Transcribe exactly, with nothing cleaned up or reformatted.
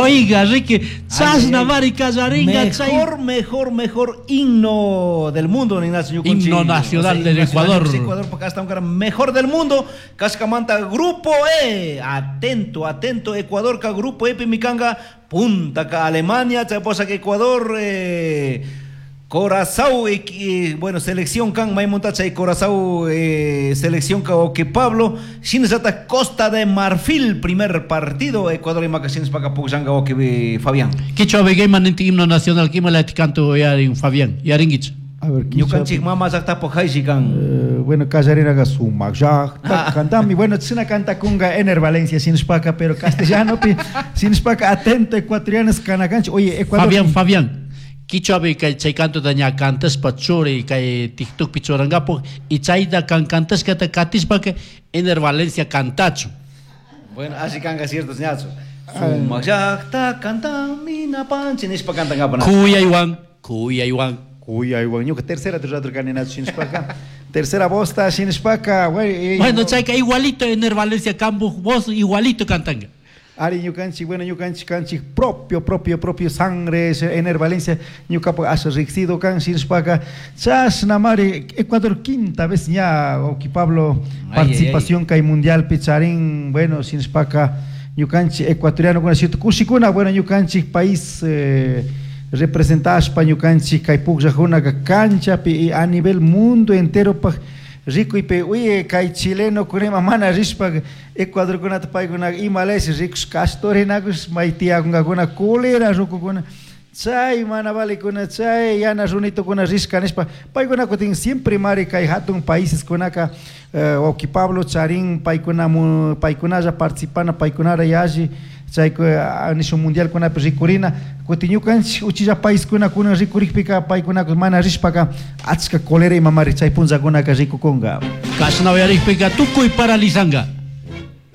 Oiga, Ricky, chashna mari kallaringa chay Mejor, mejor, mejor himno del mundo, Ignacio Ñukunchik. Himno nacional O sea, del himno nacional Ecuador. del Ecuador, porque hasta un mejor del mundo. Cascamanta, Grupo E. Atento, atento, Ecuador, ka Grupo E, Pimicanga, Punta ka Alemania, Chaposa que Ecuador, eh, Corazao, eh, eh, bueno, selección kan, Maimontacha y Corazao, eh, selección ka que Pablo, Sinesata Costa de Marfil, primer partido, Ecuador y Macasines para Puxanga, que Fabián. Kichwa begayman ninti himno nacional kimalati canto yarin Fabián, yaringuich. A ver, Ñukanchik mama llaqtapu haysi kan. Eh, bueno, kallarinaqa sumaq llaqta cantami. Bueno, china cantakunga Ener Valencia sinishpaka, pero castellanopi sinishpaka atento ecuatorianos kanakanchik. Oye, Ecuador. Fabián, Fabián. Kichwapi kay chay cantota ña cantaspa churi kay TikTokpi churankapu y chayta kan cantashkata katishpaka Ener Valencia cantachu. Bueno, así kanga cierto ñachu. Sumaq llaqta cantami napanchi nishpa cantankapa. Kuyaywan, kuyaywan. Kuyaywan, ñuka tercera rato kaninachu sinishpaka. Tercera voz ta sinishpaka, güey. Bueno, chayka igualito Ener Valencia kambuj voz igualito cantanga. Ari ñukanchik, bueno, ñukanchik kanchik propio, propio, propio sangre, Ener Valencia, ñukapak asha riqsido kan sinishpaka, chashna mari, Ecuador quinta vez ña, Oki Pablo, Ay, participación kay mundial picharín, bueno, sinishpaka, ñukanchik ecuatoriano kuna cierto kushikuna, bueno, ñukanchik país eh, representashpa ñukanchik kay pukllajunaka canchapi y a nivel mundo entero pak rikuypi, uy, kay chileno kunima mana rishpa Ecuador kunata paykuna imalaysi rikush kastorinakush may tiyakunkakuna culera rukukuna chay mana valikuna chay yana runitukuna rishka nishpa paykuna kutin siempre mari kay hatun países kunaka eh, wawki Pablo charin paykuna mu, paykunalla participana paykunara yalli chay nishun mundial kunapi rikurina kutin ñukanchik uchilla país kuna kunan rikurikpika paykuna mana rishpaka achka cólera imamari chay punllakunaka rikukunka. Kashna uyarikpika tukuy paralizanga.